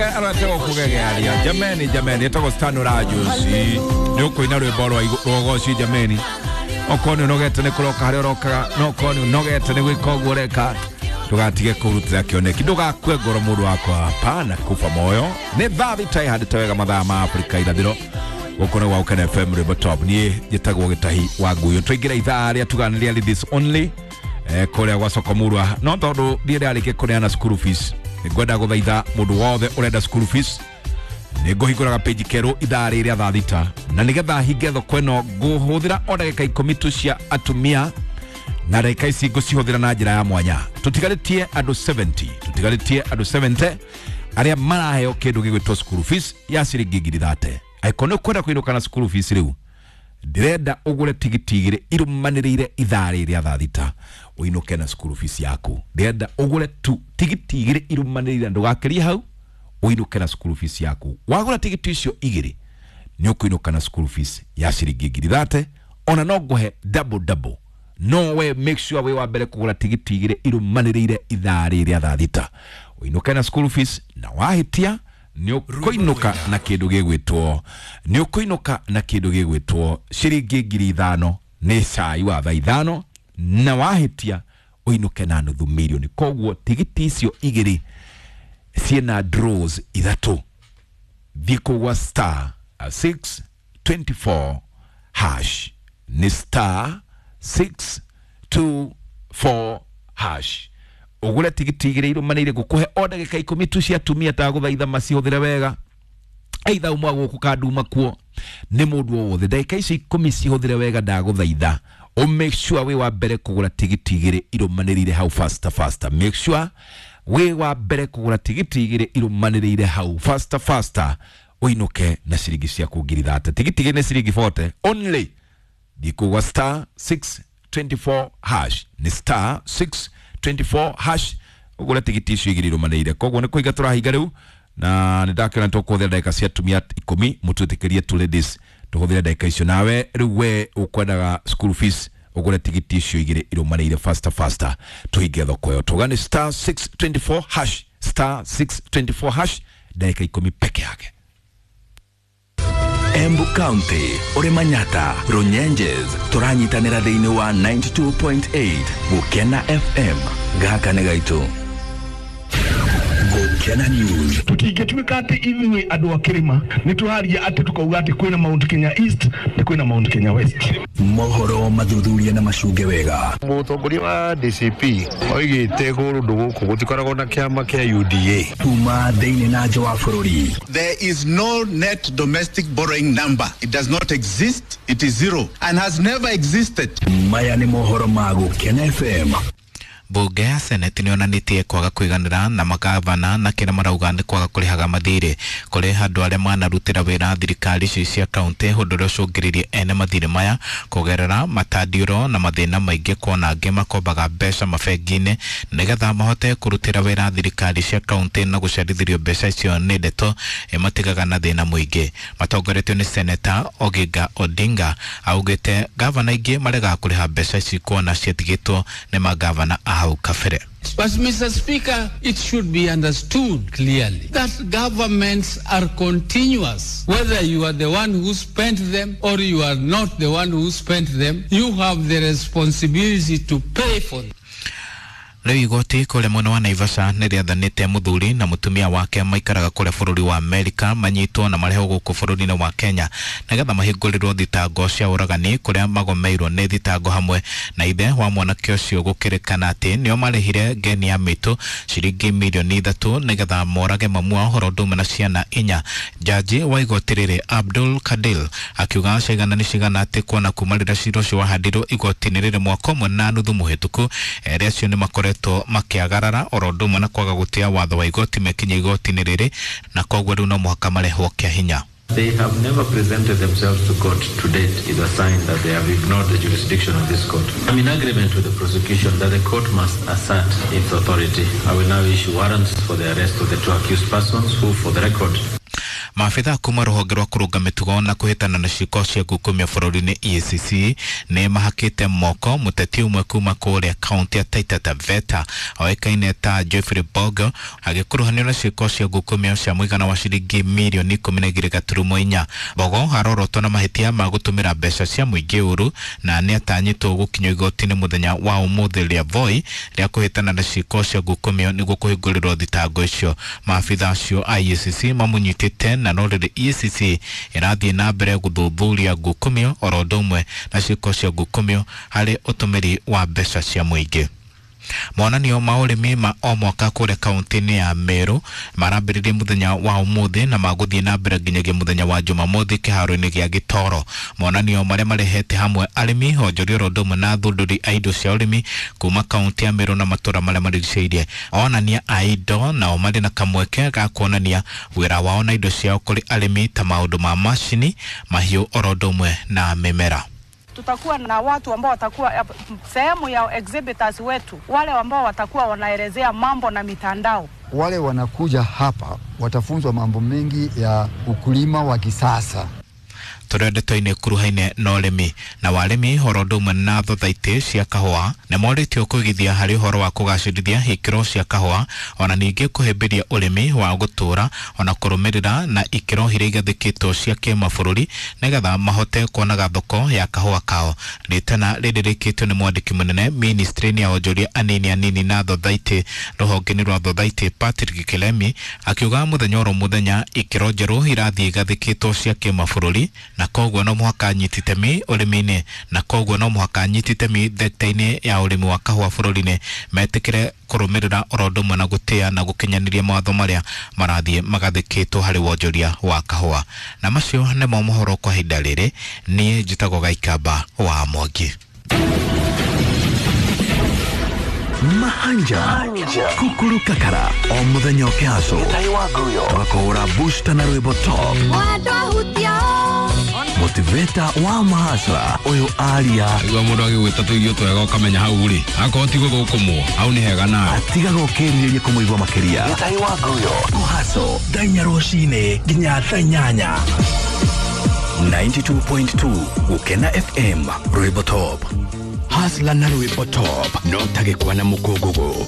Arate kugegearia jameni jameni etagwo Stan Rajusi ni ukuina rwimbo rwa rwogoci jameni okorwo ni unogete ni kuroka haria urokaga no okorwo ni unogete ni gwika uguo ureka ndugatige kurutira kioneki ndugakue ngoro mundu wakwa hapana kufa moyo ni thaa thita ihandite wega mathaa ma Afrika irathiro guku ni gwa Gukena FM rwimbo top nie njitagwo Gitahi wa Nguyu twaingira ithaa ria tuganĩria ladies only kuria gwa soko murwa no tondu thiĩ ndĩrarĩkia kũneana school fees ngwenda guthaitha mundu wothe urenda school fees nĩngũhingũraga page kerũ ithaa rĩrĩa thaa thita na nĩgetha hinge thoko ĩno ngũhũthĩra o ndagĩka ikũmi tu cia atumia na ndagĩka ici ngũcihũthĩra na njĩra ya mwanya tũtigarĩtie andũ 70 tũtigarĩtie andũ 70 arĩa maraheo kĩndũ gĩgwĩtwo school fees ya ciringi 30,000 angĩkorwo nĩ ũkwenda kũinũka na school fees rĩu ndĩrenda ũgũre tigiti igĩrĩ irũmanĩrĩire ithaa rĩrĩa thaa thita ũinũke na school fees yaku ndĩrenda ũgũre tu tigiti igĩrĩ irũmanĩrĩire ndũgakĩrie hau ũinũke na school fees yaku wagũra tigiti icio igĩrĩ nĩ ũkũinũka na school fees ya ciringi 30,000 ona no ngũhe double double no we make sure wĩ wa mbere kũgũra tigiti igĩrĩ irũmanĩrĩire ithaa rĩrĩa thaa thita ũinũke na school fees na wahĩtia nĩ ũkũinũka na kĩndũ gĩgwĩtwo nĩ ũkũinũka na kĩndũ gĩgwĩtwo ciringi 5,000 nĩ cai wa thaa ithano na wahĩtia ũinũke na nuthu mirioni koguo tigiti icio igĩrĩ ciĩna draws ithatũ thiĩ kũgwa star 624 hash nĩ star 624 hash ugure tigiti igĩrĩ irũmanĩire gũkũhe o ndagĩka ikũmi tu cia atumia ndagũthaitha macihũthĩre wega either uma gũkũ kanduma kuo nĩ mũndũ o wothe ndagĩka icio ikũmi cihũthĩre wega ndagũthaitha o make sure wĩ wa mbere kũgũra tigiti igĩrĩ irũmanĩrĩire hau faster faster make sure wĩ wa mbere kũgũra tigiti igĩrĩ irũmanĩrĩire hau faster faster ũinũke na ciringi ciaku 30,000 tigiti igĩrĩ nĩ ciringi 40 only ndikũgwa star 624 hash nĩ star 624 hash ũgũre tigiti icio igĩrĩ irũmanĩrĩire koguo nĩ kũiga tũrahinga rĩu na nĩ ndakĩona tũkũhũthĩra ndagĩka cia atumia ikũmi mũtwĩtĩkĩrie tu ladies tũhũthĩre ndagĩka icio nawe rĩu we ũkwendaga school fees ũgũre tigiti icio igĩrĩ irũmanĩrĩire faster faster tũhinge thoko ĩyo tuga nĩ star 624 hash star 624 hash ndagĩka ikũmi peke yake. Embu County, Uri Manyata, Runyenjes, tũranyitanĩra thĩinĩ wa 92.8 Gukena FM. Gaka nĩ gaitũ. Gukena News. Tutingĩtuĩka atĩ ithuĩ andũ a kĩrĩma nĩ tũraria atĩ tukauga atĩ kwĩna Mount Kenya East na kwĩna Mount Kenya West. Mohoro mathuthuria na macunge wega. Mũtongoria wa DCP oigĩte kũndũ gũkũ gũtikoragwo na kĩama kĩa UDA. Kuma thĩinĩ na nja wa bũrũri. There is no net domestic borrowing number. It does not exist. It is zero and has never existed. Maya nĩ mohoro ma Gukena FM. Bunge ya Senate nĩyonanĩtie kwaga kũiganĩra na magavana na kĩrĩa marauga nĩ kwaga kũrĩhaga mathirĩ kũrĩ andũ arĩa manarutĩra wĩra thirikari ici cia kaunti ũndũ ũrĩa ũcũngĩrĩirie ene mathirĩ maya kũgerera matandiũro na mathĩna maingĩ kuona angĩ makombaga mbeca mabengi-inĩ nĩgetha mahote kũrutĩra wĩra thirikari cia kaunti na gũcerithĩrio mbeca icio nĩ ndeto ĩmatigaga na thĩna mũingĩ. Matongoretio nĩ Seneta Oginga Odinga augĩte gavana aingĩ maregaga kũrĩha mbeca ici kuona ciatigĩtwo nĩ magavana hau kabere. But Mr. Speaker, it should be understood clearly that governments are continuous. Whether you are the one who spent them or you are not the one who spent them, you have the responsibility to pay for them. Rĩu igoti kũrĩa mwena wa Naivasha nĩ rĩathanĩte mũthuri na mũtumia wake maikaraga kũrĩa bũrũri wa Amerika manyitwo na marehwo gũkũ bũrũri-inĩ wa Kenya nĩgetha mahingũrĩrwo thitango cia ũragani kũrĩa magomeirwo nĩ thitango hamwe na ithe wa mwanake ũcio gũkĩrĩkana atĩ nĩo marĩhire ngeni ya mĩtũ ciringi mirioni 3 nĩgetha morage mamu wao ũhoro ũndũ ũmwe na ciana 4. Jaji wa igoti rĩrĩ Abdul Kadil akiuga cigana nĩ cigana atĩ kuona kuma rĩrĩa cira ũcio wahandirwo igoti-inĩ rĩrĩ mwaka ũmwe na nuthu mũhĩtũku erĩ acio nĩ makoretwo makĩagarara oro ũndũ ũmwe na kwaga gũtĩa watho wa igoti mekinya igoti-inĩ rĩrĩ na koguo rĩu no mũhaka marehwo kĩa hinya. They have never presented themselves to court to date is a sign that they have ignored the jurisdiction of this court. I'm in agreement with the prosecution that the court must assert its authority. I will now issue warrants for the arrest of the two accused persons who, for the record, Maabitha kuma rũhonge rwa kũrũnga mĩtugo na kũhĩtana na ciĩko cia ngukumio bũrũri-inĩ EACC nĩ mahakĩte moko mũteti ũmwe kuma kũrĩa kaunti ya Taita Taveta oĩkaine ta Geoffrey Bogo agĩkuruhanio na ciĩko cia ngukumio cia mũigana wa ciringi mirioni 12.4. Bogo arorotwo na mahĩtia ma gũtũmĩra mbeca cia mũingĩ ũru na nĩ atanyĩtwo gũkinyio igoti-inĩ mũthenya wa ũmũthĩ rĩa Voi rĩa kũhĩtana na ciĩko cia ngukumio nĩguo kũhingũrĩrwo thitango icio. Maabitha acio a EACC mamũnyitĩte na no rĩrĩ EACC ĩrathiĩ na mbere gũthuthuria ngukumio oro ũndũ ũmwe na ciĩko cia ngukumio harĩ ũtũmĩri wa mbeca cia mũingĩ. Monanio ma ũrĩmi ma o mwaka kũrĩa kaunti-inĩ ya Meru marambĩrĩria mũthenya wa ũmũthĩ na magũthiĩ na mbere nginyagia mũthenya wa Jumamothi kĩharo-inĩ gĩa Gĩtoro. Monanio marĩa marehete hamwe arĩmi, onjoria oro ũndũ ũmwe na athundũri a indo cia ũrĩmi kuma kaunti ya Meru na matũũra marĩa marigicĩirie. Onania a indo nao marĩ na kamweke ga kuonania wĩra wao na indo ciao kũrĩ arĩmi ta maũndũ ma macini, mahiũ oro ũndũ ũmwe na mĩmera. Tutakuwa na watu ambao watakuwa sehemu ya exhibitors wetu, wale ambao watakuwa wanaelezea mambo na mitandao. Wale wanakuja hapa watafunzwa mambo mengi ya ukulima wa kisasa. Tũrĩ ndeto-inĩ kuruhaine na ũrĩmi na warĩmi oro ũndũ ũmwe na thothaitĩ cia kahũa nĩ morĩtio kũigithia harĩ ũhoro wa kũgacĩrithia ikĩro cia kahũa ona ningĩ kũhĩmbĩria ũrĩmi wa gũtũũra ona kũrũmĩrĩra na ikĩro iria igathĩkĩtwo cia kĩmabũrũri nĩgetha mahote kuonaga thoko ya kahũa kao. Rĩtana rĩrĩ rĩkĩtio nĩ mwandĩki mũnene ministry-inĩ ya onjoria anini anini na thothaitĩ rũhonge-inĩ rwa thothaitĩ Patrick Kilemi akiuga mũthenya oro mũthenya ikĩro njerũ irathiĩ igathĩkĩtwo cia kĩmabũrũri na koguo no mũhaka nyiti itemi ũrĩmi-inĩ na koguo no mũhaka nyiti itemi thekta-inĩ ya ũrĩmi wa kahũa bũrũri-inĩ metĩkĩre kũrũmĩrĩra oro ũndũ ũmwe na gũtĩa na gũkinyanĩria mawatho marĩa marathiĩ magathĩkĩtwo harĩ wonjoria wa kahũa. Na macio nĩmo mohoro kwa ihinda rĩrĩ. Niĩ njĩtagwo Gaikamba wa Mwangi. Mahanja kukuru kakara o muthenya ũkĩhacwo tũgakũhũra booster na rwĩmbo top motivator wa mahasra ũyũ aria igua mũndũ agĩgwĩta tũirio twega ũkamenya hau rĩ akorwo ti gũthũkũmwo hau nĩ hega nawe atigaga ũkĩrirĩria kũmũigua makĩria kũhaco thaa inya rũcinĩ nginya thaa inyanya. 92.2 Gũkena FM rwĩmbo top Hasla na rwĩmbo top no tagĩkwa na mũkũngũgũ.